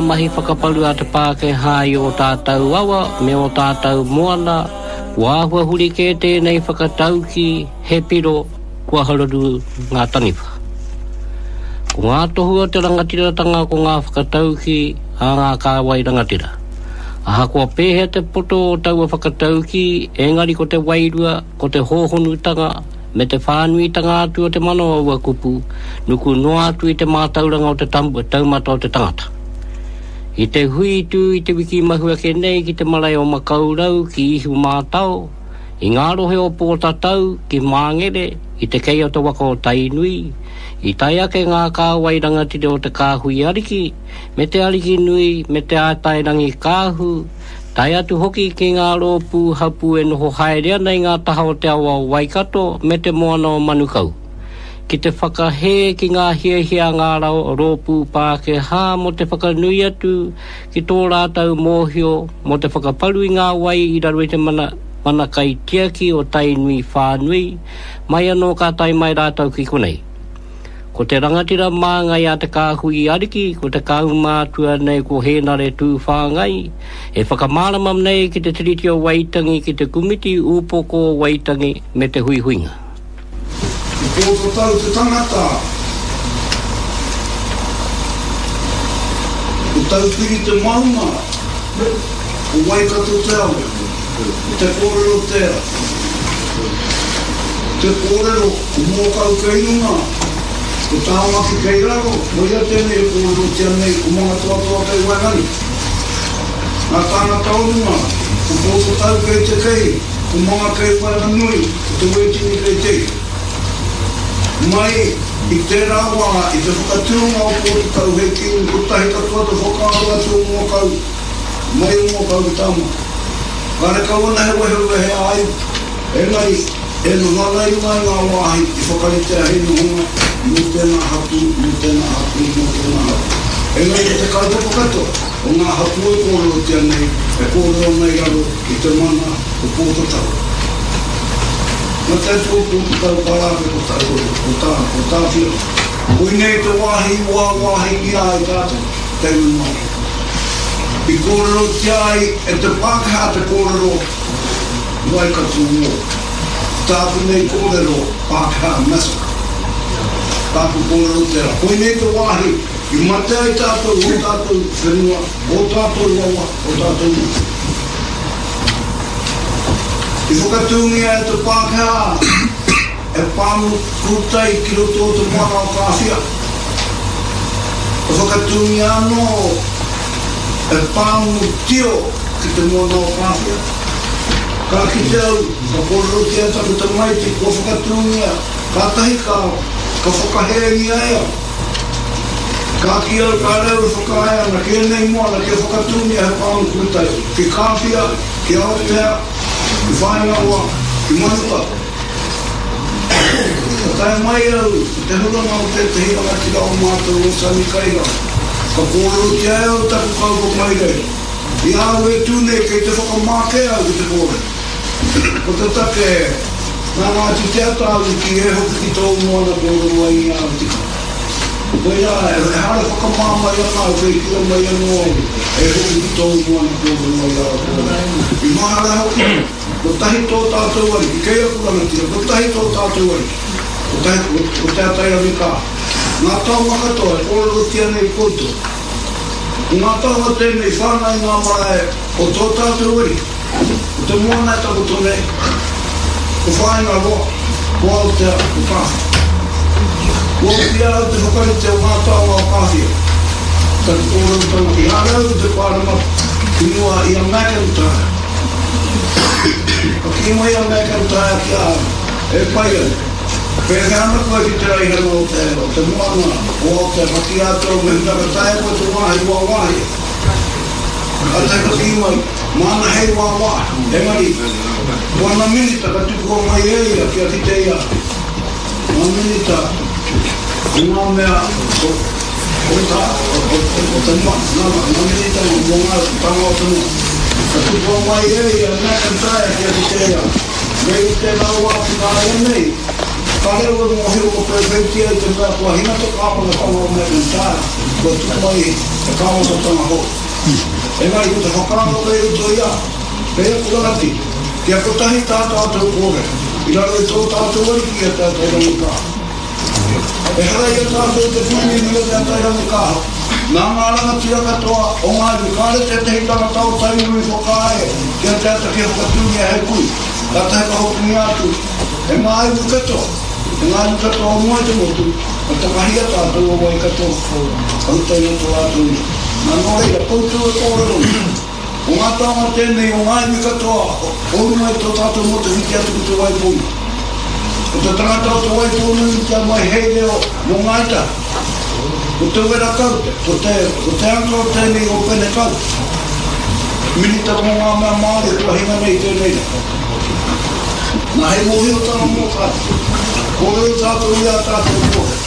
mahi whakaparu a te Pākehā i ō tātou awa me ō tātou moana, kua āhua huri kē tēnei whakataukī, he piro, kua haruru ngā taniwha. Ko ngā tohu o te rangatiratanga ko ngā whakataukī a ngā kāwai rangatira. Ahakoa pēhea te poto o taua whakataukī, engari ko te wairua, ko te hōhonutanga, me te whānuitanga atu o te mana o aua kupu, nuku noa atu i te mātauranga o te taumata o te tangata. I te hui tū i te wiki mahu ake nei ki te marae o Makaurau ki Ihumātao, i ngā rohe o Pōtatau ki Māngere, i te kei o te waka o Tainui, i tae ake ngā kāwai rangatira o te kāhui ariki, me te ariki nui, me te Ātairangikaahu, tae atu hoki ki ngā rōpū hapū e noho haere ana i ngā taha o te awa o Waikato me te moana o Manukau, ki te whakahē ki ngā hiahia a ngā rōpū Pākehā mō te whakanui atu ki tō rātou mōhio mō te whakaparu i ngā wai i raro i te mana mana kaitiaki o Tainui whānui, mai anō ka tae mai rātou ki konei. Ko te rangatira māngai a Te Kāhui Ariki, ko te kaumātua nei ko Hēnare Tūwhāngai, e whakamārama nei ki te Tiriti o Waitangi ki te Kumiti Upoko o Waitangi me te Huihuinga. Ko Pōtatau te tangata, ko Taupiri te maunga, ko Waikato te awa, ko Te Kōrero tērā. Te kōrero, ko Mōkau kei runga, ko Tāmaki kei raro, koia tēnei e kōrerotia nei, ko Mangatoatoa kei waenganui. Ngā tāngata o runga, ko Pōtatau kei te kei, ko Manga kei waenganui, ko Te Wētini kei te iho. Mai i tērā wā, i te whakatūnga o Pōtatau hei kīngi kotahi katoa te whakaaro atu o Mōkau, mai o Mōkau ki Tāmaki. Karekau ana he wehewehe ā-iwi, engari e noho ana i runga i ngā wāhi i whakaritea hei nohonga mō tēnā hapū, mō tēnā hapū, mō tēnā hapū. Engari ko te kaupapa katoa o ngā hapū e kōrerotia nei, e kōrero ana i raro i te mana o Pōtatau. Nā te atu o Pōtatau ka rā ake ko tā, ko tā, ko Tāwhiao. Koinei te wāhi i wāwāhingia ai tātou, te iwi Māori. I kōrerotia ai e te Pākehā te kōrero Waikato War. Tāku nei kōrero Pākehā Massacre. Tāku kōrero tērā. Koinei te wāhi i mate ai tātou, ō tātou whenua, ō tātou rawa, ō tātou mate. I whakatūngia e te Pākehā e pāmu kūtai ki roto o te moana o Kāwhia. Ka whakatūngia anō e pāmu tio ki te moana o Kāwhia. Ka kite au, ka kōrerotia taku tamaiti kua whakatūngia, kātahi ka, ka whakahēngia e au. Ka kī au, kāre au e whakaae ana ki ēnei moana kia whakatūngia he pāmu kūtai ki Kāwhia, ki Aotea, ki Whāingaroa, ki Manukau. Ka tae mai au i te huranga o tētehi rangatira o mātou o Sonny Kairau. Ka kōrerotia e au taku kaupapa i reira. I a au e tū nei kei te whakamā kē au ki te kōrero. Ko te take, nā Ngāti Te Ata au i kī e hoki ki tōu moana kōrero ai i āu tikanga. Koirā, ehara whakamā mai ana au kei kīa mai anō au e hoki ki tōu moana kōrero ai āu kōrero. I mahara hoki au. Kotahi tō tātou ariki, kei aku rangatira, kotahi tō tātou ariki, kotahi, ko Te Atairangikaahu. Ngā taonga katoa e kōrerotia nei koutou, ko ngā taonga tēnei whāngai ngā marae o tō tātou ariki, ko te moana e takoto nei, ko Whāingaroa, ko Aotea, ko Kāwhia. Kua oti a au te whakarite o ngā taonga o Kāwhia, taku kōrerotanga i haere au i te Pāremata ki mua i a McIntyre. Ka kī mai a McIntyre ki a au, E pai ana. Pēhea ana koe ki te raihana o te, o te moana o Aotea ka kī atu au mehemea ka taea koe te wāhi wāwāhi. Kātahi ka kī mai, māna hei wāwāhi. Engari, ko ana minita ka tukua mai e ia kia kite i a au. Ngā minita o ngā mea o, o tā, o, o, o te moana, nā, ngā minita mō ngā tānga o te moana. Ka tukua mai e ia McIntyre kia kite i a au. Nei i tērā wā ki nāianei, Kāre au e mōhio kua pēwhētia i te mea kua hinga te kāwanatanga o McIntyre, kua tū mai he kāwanatanga hou. Engari ko te whakaaro kei roto i a, kei aku rangatira, kia kotahi tā tātou kōrero, i raro i tō tātou Ariki i a Te Atairangikaahu. Ehara i a tātou te Kuini me Te Atairangikaahu, nā ngā rangatira katoa o ngā iwi, kāre tētehi tangata o Tainui i whakaae ki a Te Ata kia whakatūngia hei kui, kātahi ka hokingia atu e ngā iwi katoa, e ngā iwi katoa o mua i te motu, ka takahia tātou o Waikato, ka utaina tō rātou iwi. Nā, nō reira, koutou e kōrero nei. Ko ngā taonga tēnei o ngā iwi katoa o runga i tō tātou motu whiti atu ki Te Waipounamu. Ko te tangata o Te Waipounamu i kia mai hei reo mō Ngāi Tahu. Ko Te Wera Kaute, ko te, ko te uncle tēnei o Pene Kaute. Minita mō ngā mea Māori kua hinga nei i tēnei rā. Nā hei mōhiotanga mō tātou. Kōrero tātou i ā tātou kōrero.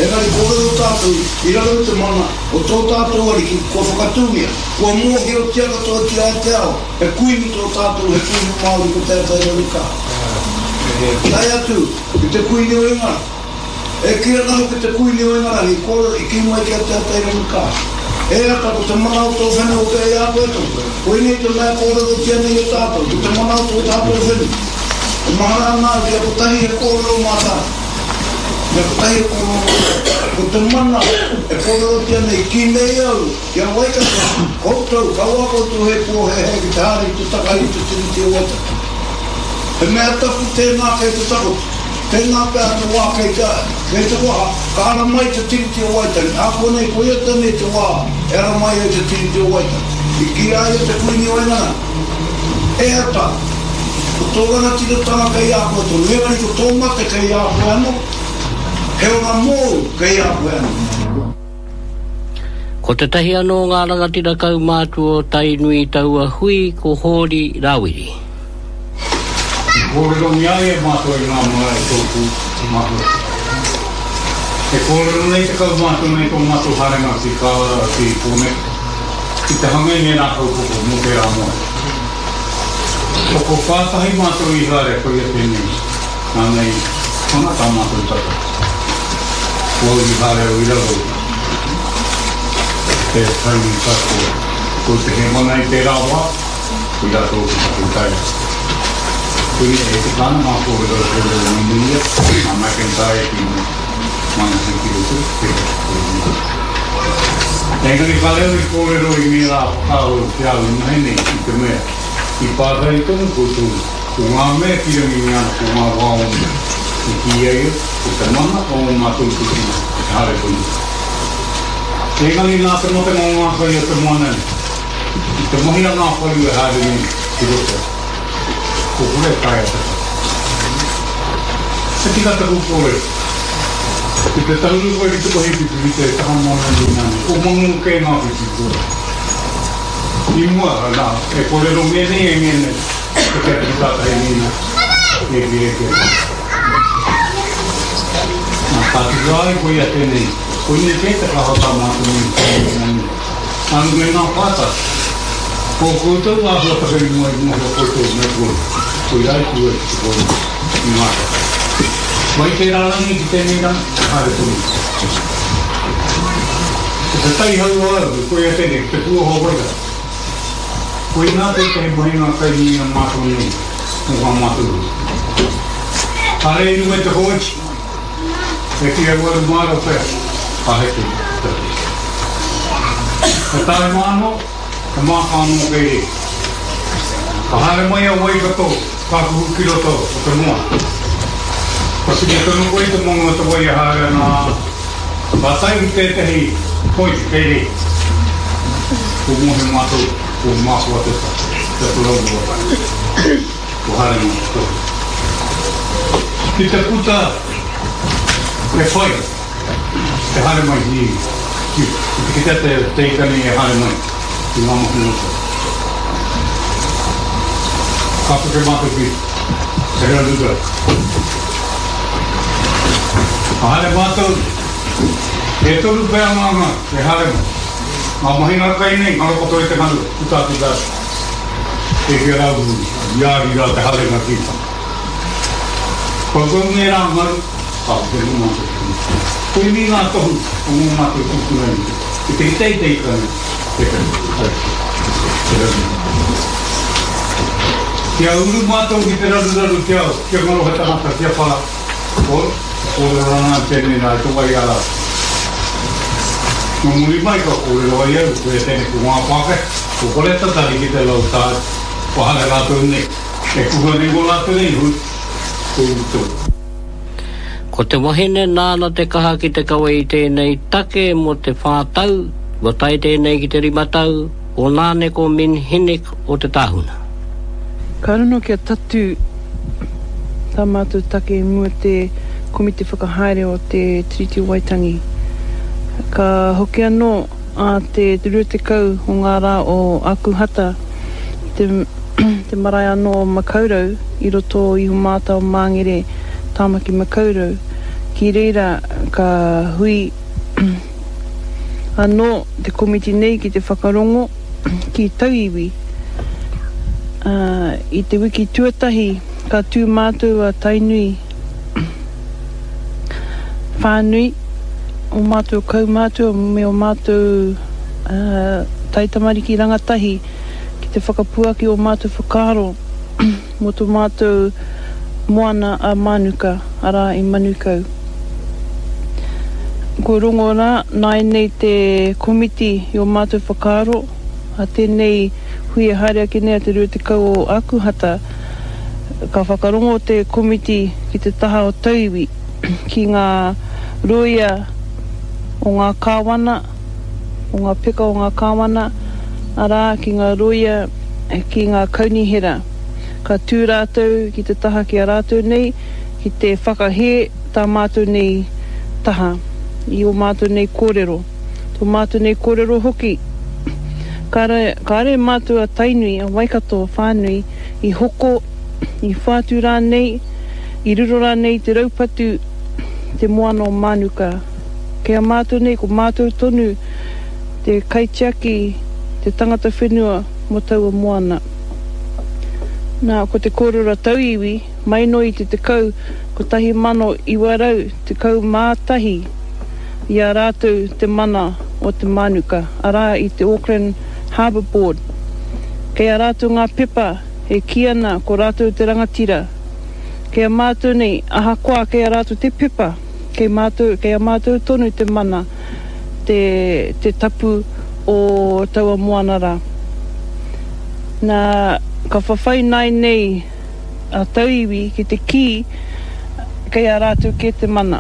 Engari kōrero tātou i raro i te mana o tō tātou Ariki kua whakatūngia, kua mōhiotia katoatia e te ao, he kuini tō tātou, he kuini Māori ko Te Atairangikaahu. Tae atu ki te Kuini o Ingarangi. E kī ana hoki te Kuini o Ingarangi i kōrero, i kī mai ki a Te Atairangikaahu, E Ata, ko te mana o tō whenua kei a koe tonu. Koinei te mea e kōrerotia nei e tātou, ko te mana o tō tātou whenua. E mahara ana au kia kotahi he kōrero mā tātou. Kia kotahi he kōrero mā tātou. Ko te mana e kōrerotia nei, kī nei au ki a Waikato, koutou, kaua koutou he pōhēhē ki te haere ki te takahi i te Tiriti o Waitangi. He mea tapu tēnā kei te takoto. Tēnā pea te wā kei te, kei te waha, ka ara mai te Tiriti o Waitangi. Ākuanei, koia tēnei te wā e ara mai ai te Tiriti o Waitangi. I kī a ia te Kuini o Ingarangi, E ata, ko tō rangatiratanga kei a koe tonu, engari ko tō mate kei a koe anō, he ora mōu kei a koe anō. Ko tētahi anō o ngā rangatira kaumātua o Tainui i taua hui ko Hōri Rāwiri. I kōrerongia ai e mātou i ngā marae tōpū o Mahuta. E kōrero nei te kaumātua nei tō mātou haerenga ki kā ki Pōneke ki te hanga i ngērā kaupapa mō tērā moe. Tokowhā tahi mātou i haere koia tēnei nāna i hanga tā mātou tata. Ko au i haere au i raro i te Tainui Passport. Ko te hēmana i tērā wā, Koirā tōku takutai. Koinei e tika ana ngā kōrero e kōrero nei nei ia, a McIntyre ki Mana ki roto, te kōrero. Engari ka reo i kōrero i ngērā whakaaro ki a au ināianei i te mea, i pātai tonu koutou ko ngā mea ki rangi me ana ko ngā wā o mua, i kī ai au, ko te mana o ō mātou tūpuna e haere tonu. Engari nā te matenga o ngā kai o te moana nei, I te mahi a ngā wharu e haere nei ki roto, ko kore e taea te whai. He tika taku kōrero. Ki te tahuri koe ki te kohi whiti ki te taha moana nui nānei, ko Mangu kē ngā whiti kua. I mua, nā, e kōrero ngēnei e ngēnei, ko te atu tātahi ngēnei, e kī e kī. Nā, ka tuku ai koia tēnei, koinei kē te kaha o tā mātou nei i te nui. Anu me ngā pātai. Ko koutou āhuatanga i mua i mōhio koutou me koe, koirā i tū ai ki te kōrero i ngā take. Mai tērā rangi ki tēnei rangi, haere tonu. Ko te taihau o au, koia tēnei, ko te pūoho wairau. Koinā tētahi mahinga kai nui a mātou nei mō ngā mātou hui. Kāre i runga i te kōiti. E kī aruaru māro pea, ka heke te take. Ka tae māno, he māka anō kei reira. Ka haere mai a Waikato, ka kuhu ki roto o te moana. Ka kite tonu koe i te mangu o te wai e haere ana, ā, ka tae ki tētehi point kei reira. Ko mōhio mātou, ko Mākoateta, te porou o Waikato. Ko haere mai te tohu. Ki te puta he whai, te haere mai ki, ki, ki te kitea te, te ika nei e haere mai ki ngā mahi o Ka peke mātou ki te hera ruka. Ka haere mātou, e toru pea ngā ngā e haere mai. Ngā mahinga kai nei, ngaro katoa i te ngaru, puta atu rātou. E hia rā i a i rā te haerenga ki. Koutou ngērā ngaru, ka whenu mātou ki te Koinei ngā tohu o ngō mātou tūpuna i te te teiteitanga te te raruraru. Kia uru mātou ki te raruraru kia kia ngaro he tangata kia wha ko kōrero ana au tēnei rā i te wai ara. Nō muri mai ka kōrero ai au koia tēnei ko ngā Pākehā, ko kore tatari ki te low tide, kua haere rātou nei. E kuhu ana i ngō rātou nei hui, ko uru tonu. Ko te wahine nāna te kaha ki te kawe i tēnei take mō te whā tau, kua tae tēnei ki te rima tau, ko Nāneko Minhinnick o Te Tāhuna. Ka rono kia tatū tā mātou take i mua te Komiti Whakahaere o te Tiriti o Waitangi. Ka hoki anō ā te 20 o ngā rā o Ākuhata i te te marae anō o Makaurau i roto o Ihumātao Māngere, Tāmaki Makaurau. Ki reira ka hui anō te komiti nei ki te whakarongo ki tauiwi. Ā, i te wiki tuatahi ka tū mātou a Tainui whānui, ō mātou kaumātua me ō mātou taitamariki rangatahi ki te whakapuaki ō mātou whakaaro mō tō mātou moana a Mānuka, arā, i Manukau. Kua rongo rā nāianei te komiti i ō mātou whakaaro, a tēnei hui e haere ake nei a te 20 o Ākuhata, ka whakarongo te komiti ki te taha o tauiwi, ki ngā rōia o ngā kāwana, o ngā peka o ngā kāwana, arā, ki ngā rōia, ki ngā kaunihera. Ka tū rātou ki te taha ki a rātou nei, ki te whakahē tā mātou nei taha, i ō mātou nei kōrero. Tō mātou nei kōrero hoki, kāre, kāre mātou a Tainui, a Waikato whānui, i hoko, i whātu rānei, i riro rānei i te raupatu te moana o Mānuka. Kei a mātou nei, ko mātou tonu te kaitiaki, te tangata whenua mō taua moana. Nā, ko te kōrero a tauiwi, mai noa i te tekau 1911 i a rātou te mana o te mānuka, arā, i te Auckland Harbour Board. Kei a rātou ngā pepa e kī ana ko rātou te rangatira. Kei a mātou nei, ahakoa kei a rātou te pepa, kei mātou, kei a mātou tonu te mana, te, te tapu o taua moana rā. Nā, ka whawhai nāinei a tauiwi ki te kī kei a rātou kē te mana.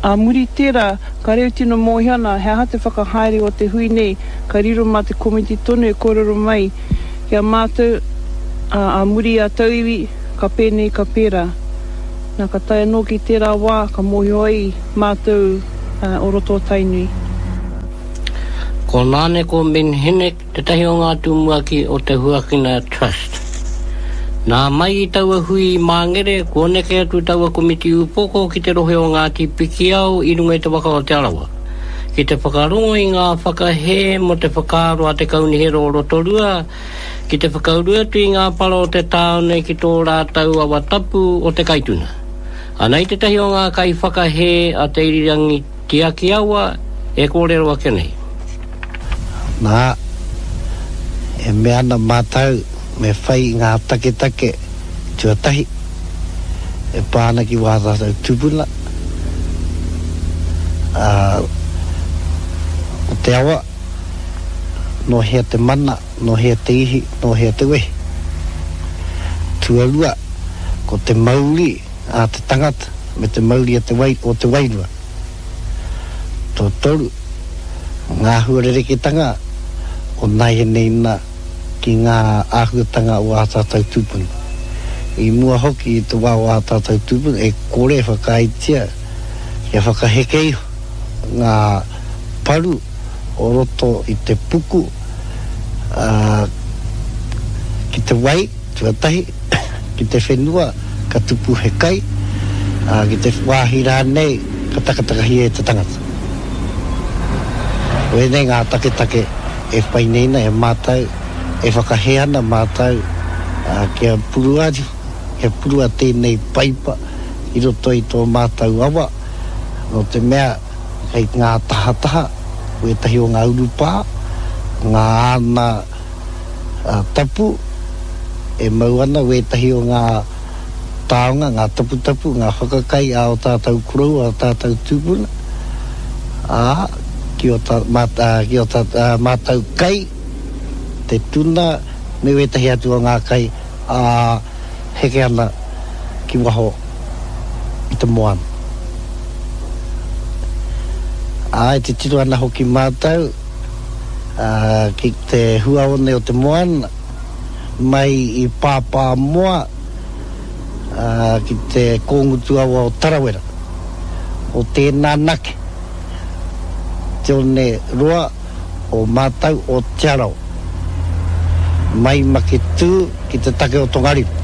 Ā muri tērā, ka reo tino mōhio ana he aha te whakahaere o te hui nei, ka riro mā te komiti tonu e kōrero mai ki a mātou, ā, ā muri a tauiwi, ka pēnei, ka pērā. Nā, ka tae anō ki tērā wā, ka mōhio ai mātou o roto o Tainui. Ko Nāneko Minhinnick tētahi o ngā tumuaki o te Huakina Trust. Nā mai i taua hui i Māngere, kua neke atu taua komiti upoko ki te rohe o Ngāti Pikiao i runga i te waka o Te Arawa, ki te whakarongo i ngā whakahē mō te whakaaro a te Kaunihera o Rotorua ki te whakauru atu i ngā para o te tāone ki tō rātou awa tapu o Te Kaituna. Anei tētahi o ngā kaiwhakahē a Te Irirangi Tiakiawa e kōrero ake nei. Nā, e mea ana mātou me whai i ngā taketake tuatahi e pā ana ki wā tātou tūpuna, ā, ko te awa, nō hea te mana, nō hea te ihi, nō hea te wehi. Tuarua, ko te mauri a te tangata me te mauri a te wai, o te wairua. Tuatoru, ngā āhua rerekētanga o nāianei nā ki ngā āhuatanga o ā tātou tūpuna. I mua hoki i te wā o ā tātou tūpuna e kore e whakaaetia kia whakaheke iho ngā paru o roto i te puku, ā, ki te wai, Tuatahi, ki te whenua ka tupu he kai, ā, ki te wāhi rānei ka takatakahia e te tangata. Ko ēnei ngā taketake e whai nei na e mātou, e whakahē ana mātou, ā, kia purua atu, kia purua tēnei paipa. i roto i tō mātou awa, nō te mea kei ngā tahataha wētahi o ngā urupā, ngā ana tapu e mau ana wētahi o ngā taonga, ngā taputapu, ngā whakakai a ō tātou koroua, ō tātou tūpuna, ā, ki ō mātou kai, te tuna me wētahi atu o ngā kai, ā, heke ana ki waho i te moana. Ā, e titiro ana hoki mātou ki te huaone o te moana, mai i Pāpāmoa ki te kōngutu awa o Tarawera, o tēnā nake te one roa o mātou o Te Arawa, mai Maketū ki te take o Tongariro.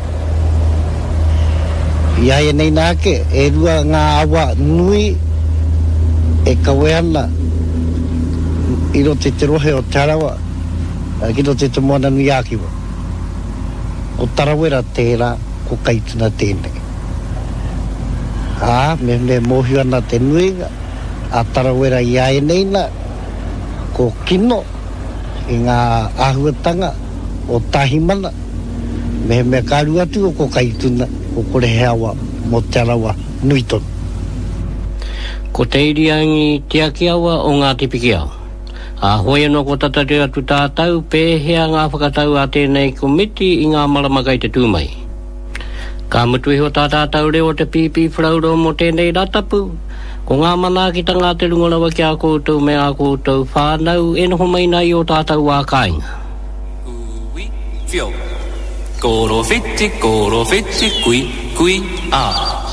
I āianei nā ake, e rua ngā awa nui e kawe ana i roto i te rohe o Te Arawa ki roto i Te Moananui-a-Kiwa. Ko Tarawera tērā, ko Kaituna tēnei. Ā, mehemea e mōhio ana te nuinga a Tarawera i āianei nā, ko Kino i ngā āhuatanga o Tāhimana, mehemea ka aru atu ko Kaituna, ko kore he awa mō Te Arawa nui tonu. Ko Te Iriangi Tiakiawa o Ngāti Pikiao. Ā, hoi anō ko tatari atu tātou pēhea ngā whakatau a tēnei komiti i ngā marama kei te tū mai. Ka mutu iho tā tātou reo o te Pīpīwharauro mō tēnei Rātapu, ko ngā manaakitanga a te Runga Rawa ki a koutou me ā koutou whānau e noho mai nā i ō tātou wā kāinga. Ui, whio. Koro whiti, koro whiti, kui, kui, a.